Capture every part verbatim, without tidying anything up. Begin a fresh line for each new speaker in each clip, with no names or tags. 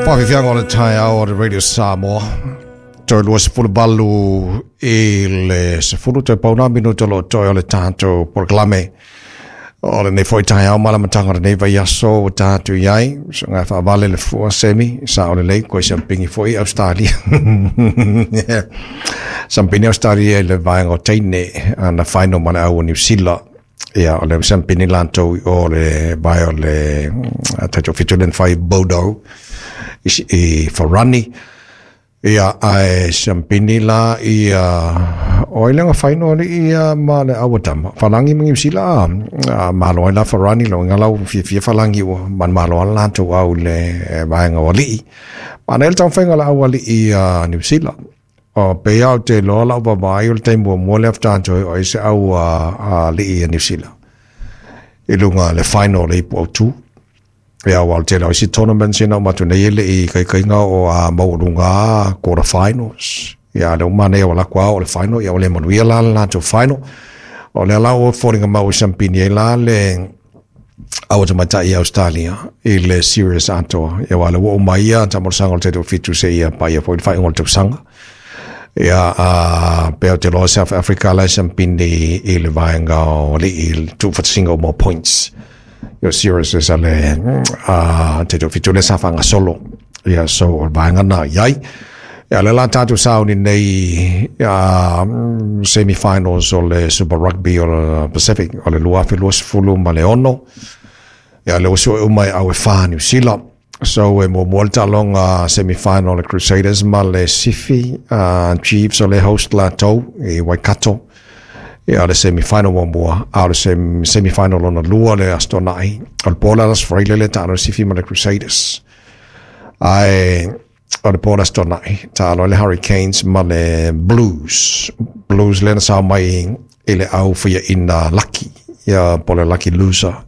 Faafiafiaga o le taeao o le Radio Samoa. Toe lua sefulu valu i le sefulu toe pau na minuta o loo toe o le tatou polokalame o lenei foi taeao ma le amataga o lenei vaiaso ua tatou i ai. Soga faavale le fua semi sa o lelei koe siampini foi Australia. Sampini Australia i le vaega o teine ana final ma le au o Niu Sila. Ia, o le siampini latou i o le vae o le tatou fitu le na fai Bodo i, i Farani. Ia, ae siampini la ia o ai le final alii ia ma le au tama. Falangi ma Niu Sila a malo ai la Farani lo nga lau fiafia Falangi ua man malo ala latou au le vaega o alii. Ma nei le taumafaiga o le au alii a Niu Sila. O pe au te loa lau vaavaai o le taimi muamua lea faatoa toe o ai se au alii a Niu Sila i luga le final le ipu autu. Ia, ua o le tele o isi tournaments ina uma atu nei e le i kaikaiga o a maualuga quarter finals. Ia, le uma nei o la kwa o le final, ia o le manuia la le latou final. O lea la ua foliga mau i sampini ai la le au tamaitai i Australia i le series atoa. Ia, ua le ua uma ia taamolosaga o le tatou fitu se ia paia foi le faaiuga o le tausaga. Ia, a pe o te loa South Africa la sampini i le vaega o alii i le tuufatasiga o more points. Ia series sa le a tatou fitu le sa faagasolo. Ia, so o le vaega na i ai. Ia, le la tatou sauni nei ia semi-finals o le Super Rugby o le Pacific o le lua afe luasefulu ma le ono. Ia, le ua sue uma e au e whā Niu Sila. So e muamua le taaloga semi-final le Crusaders ma le Sifi uh, Chiefs o le host latou i Waikato. Ia, le semi-final muamua, a o le sem, semi-final lona lua le Aso Toonai. O le po le Aso Faraile le taalo le Sifi ma le Crusaders. Ae o le po le Aso Toonai, taalo le Hurricanes ma le Blues. Blues lena sao mai i le au faiaina Lucky, ia po le Lucky Loser.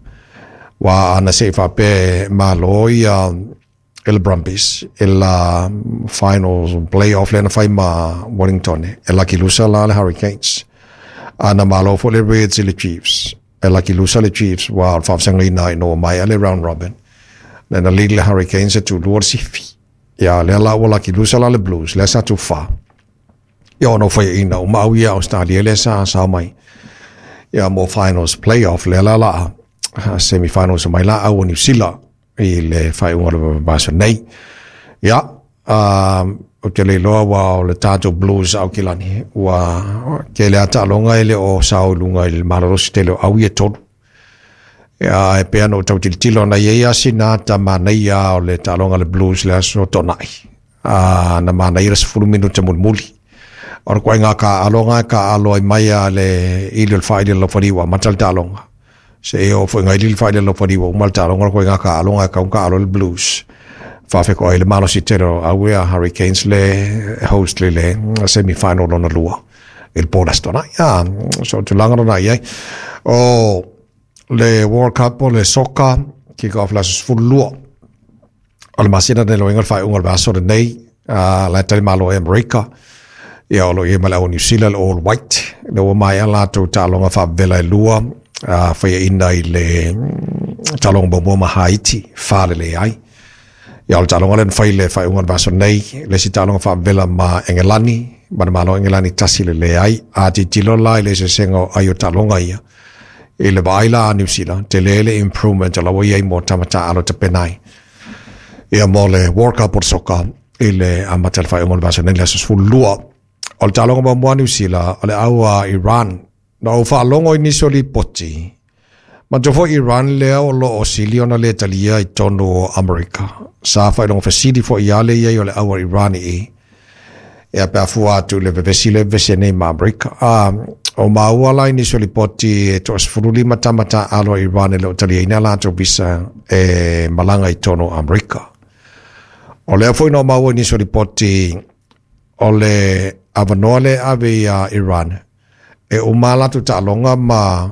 Wa ana se i faapea malo ia i le Brumbies i la finals playoff lena fai ma Wellington e lucky loser la le Hurricanes. Ana malo foi le Reds i le Chiefs. E lucky loser le Chiefs wa o le faafesagaina ina ua maea le round robin. Lena lead le Hurricanes e tulua le sifi. Ia, lea la ua lucky loser la le Blues, lea sa tufa. Ia, ona o faiaina uma au ia Australia lea sa sao mai. Ia, mo finals playoff lea la la semi-finals mai la au o Niu Sila i le faaiuga o le vaiaso nei. Ia, um, ou te le iloa ua o le tatou Blues Aukilani ua tele a taaloga e le o sao i luga i le malolosi tele o au ia tolu. Ia, e pei ona ou tau tilotilo na i ai lava sina ata manaia o le taaloga a le Blues le Aso Toonai. A na manaia le sefulu minuta mulimuli. O le ituaiga taaalo e taaalo ai mai a le ili o le faaili o le laufali ua amata le taaloga. Se e oo foi ngai ili le faaili o le laufali ua uma le taaloga o le ituaiga taaaloga e tatau ona taaalo ai le Blues. Faafetoai le malosi tele o au ia Hurricanes le host le le semi-final lona lua i le po le Aso Toonai. Ah, so tulaga lona i ai. O le World Cup o le soka kick off le aso sefulu lua o le masina nei loiga le faaiuga o le vaiaso lenei uh, la e tali malo e Amerika. Ia, o lo o i ai ma le au New Zealand All White le ua maea latou taaloga faavela e lua uh, faiaina i le taaloga muamua ma Haiti fa le leai. Ia, o le taaloga lea na fai le faaiuga o le vaiaso nei, le isi taaloga faavela ma Engelani ma le Malo Engelani tasi le leai. A tilotilo la i le eseesega o ai o taaloga ia i le vaai la a Niu Sila, tele le improvement o la ua i ai mo tama taaalo tapena ai. Ia, mo le World Cup o le soka i le amata le faaiuga o le vaiaso nei le aso sefulu lua. O le taaloga muamua a Niu Sila o le au a Iran. Na ou faalogo i nisi o lipoti, manatua foi Iran lea o loo sili ona le talia i totonu o Amerika. Sa faailoga fesili foi ia le i ai o le au a Iran i ia pe a fua atu i le vevesi le vevesi nei ma Amerika. A o maua la i nisi o lipoti e toasefulu lima tama taaalo a Iran e le o taliaina latou visa e malaga i totonu o Amerika. O lea foi na o maua i nisi o lipoti o le avanoa le ave ia Iran e uma latou taaloga ma